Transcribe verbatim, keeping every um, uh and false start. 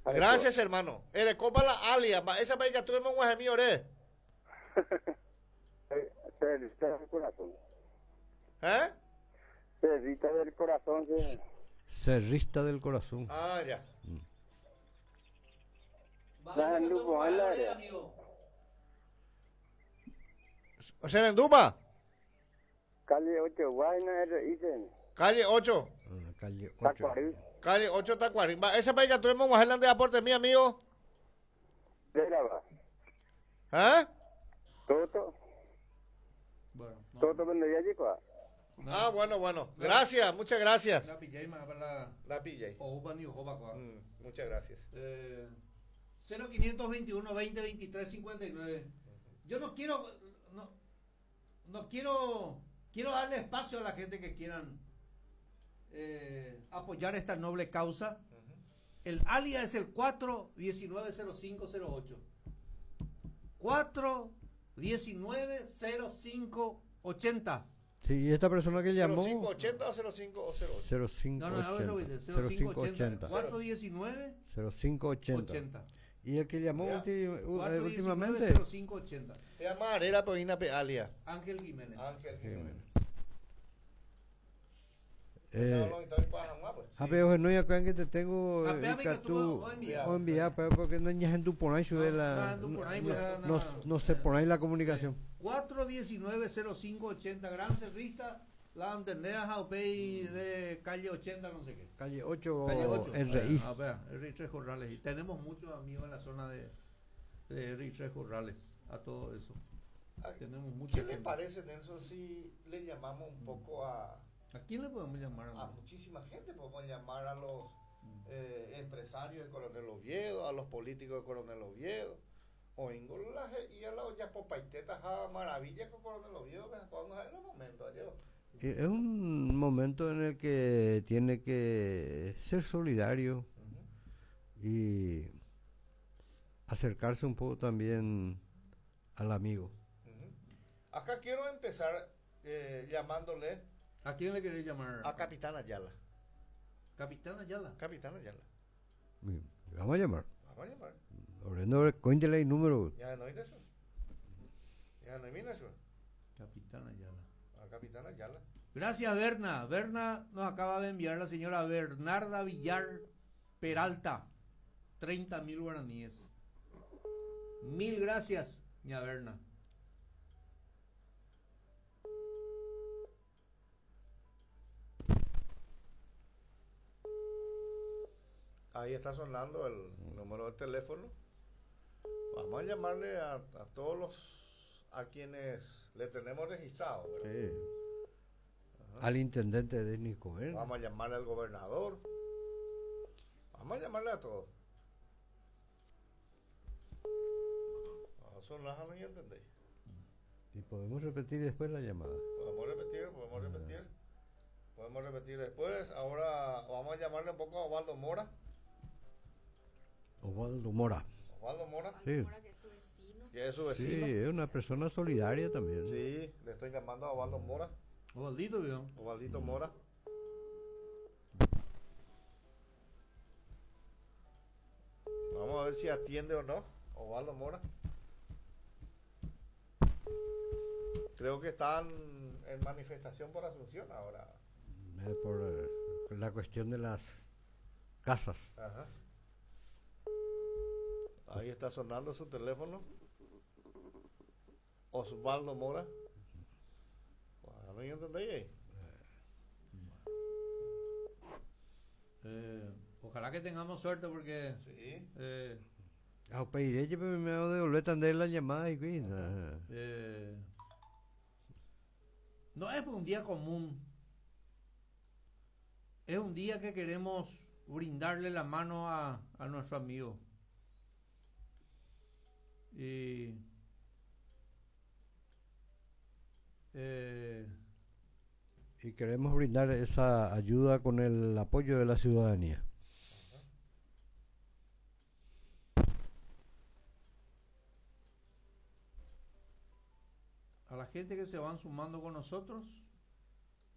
Gracias, hermano. Erekopa la alia, mba'éichapa ikatu emog̃uahẽmi ore. Cerrista del corazón. ¿Eh? Cerrista del corazón, sí. Cerrista del corazón. Ah, ya. Mm. O sea, Venduma. Calle ocho, Guayna, R I C. Calle ocho. Ah, calle ocho. Tacuarí. Calle ocho, Tacuarí. Va, ese país que tuvimos en de aporte, mi amigo. De la va. ¿Eh? Toto. Bueno, no. Toto vendría allí, ¿cuál? No. Ah, bueno, bueno. Gracias, muchas gracias. La pillé más para la. La pillé. Mm, muchas gracias. Eh, cero quinientos veintiuno, veinte, veintitrés, cincuenta y nueve. Yo no quiero. No, no quiero. Quiero darle espacio a la gente que quieran eh, apoyar esta noble causa. Uh-huh. El alias es el cuatro diecinueve cero cinco cero ocho. cuatro diecinueve cero cinco ochenta. Sí, y esta persona que llamó. ¿cero cinco ochenta o cero cinco cero ocho? cero cinco ochenta. cero cinco ochenta. cuatro diecinueve cero cinco ochenta. Y el que llamó ulti, últimamente. cero cinco ochenta. Era Poina Alia. Ángel Jiménez. Ángel Jiménez. Eh, a pero no ya que te tengo o enviar porque no ña por ahí de la no no sé por ahí la comunicación. Cuatro diecinueve cero cinco ochenta, Gran Cerrista, la Antendea Jaupey de calle ochenta, no sé qué. Calle ocho, R I. A ver, R I tres Corrales. Y tenemos muchos amigos en la zona de, de R I tres Corrales, a todo eso. Tenemos mucha ¿Qué le gente. Parece, Nelson, si le llamamos un poco a... ¿A quién le podemos llamar? A muchísima gente. Podemos llamar a los eh, empresarios de Coronel Oviedo, a los políticos de Coronel Oviedo, o y a la olla popaiteta, a maravilla con Coronel Oviedo, que vamos a ver los momentos. Es un momento en el que tiene que ser solidario uh-huh. y acercarse un poco también al amigo. Uh-huh. Acá quiero empezar eh, llamándole. ¿A quién le querés llamar? A Capitán Ayala. ¿Capitán Ayala? Capitán Ayala. Bien. Vamos a llamar. Vamos a llamar. Orendo, cuéntele el número. Ya no hay eso. Ya no hay eso. Capitán Ayala. A Capitán Ayala. Gracias, Berna. Berna nos acaba de enviar la señora Bernarda Villar Peralta. treinta mil guaraníes. Mil gracias, ña Berna. Ahí está sonando el número de teléfono. Vamos a llamarle a, a todos los a quienes le tenemos registrado. Sí. Al intendente de Nicoel. Vamos a llamarle al gobernador. Vamos a llamarle a todos. Son las no entendéis. Y podemos repetir después la llamada. Podemos repetir, podemos repetir. Podemos repetir después. Ahora vamos a llamarle un poco a Osvaldo Mora. Osvaldo Mora. Osvaldo Mora. Sí. Mora, que es su vecino. Que es su vecino. Sí, es una persona solidaria también. Sí, le estoy llamando a Osvaldo Mora. Osvaldito, ¿no? Osvaldito Mora. Vamos a ver si atiende o no. Osvaldo Mora. Creo que están en manifestación por Asunción ahora. Eh, por eh, la cuestión de las casas. Ajá. Ahí está sonando su teléfono. Osvaldo Mora. Bueno, ¿no entendí ahí? Eh, ojalá que tengamos suerte porque... Sí. Eh, ah, pediré, pero me voy a devolver también la llamada y eh, no es un día común. Es un día que queremos brindarle la mano a, a nuestro amigo. Y eh, y queremos brindar esa ayuda con el apoyo de la ciudadanía. A la gente que se van sumando con nosotros.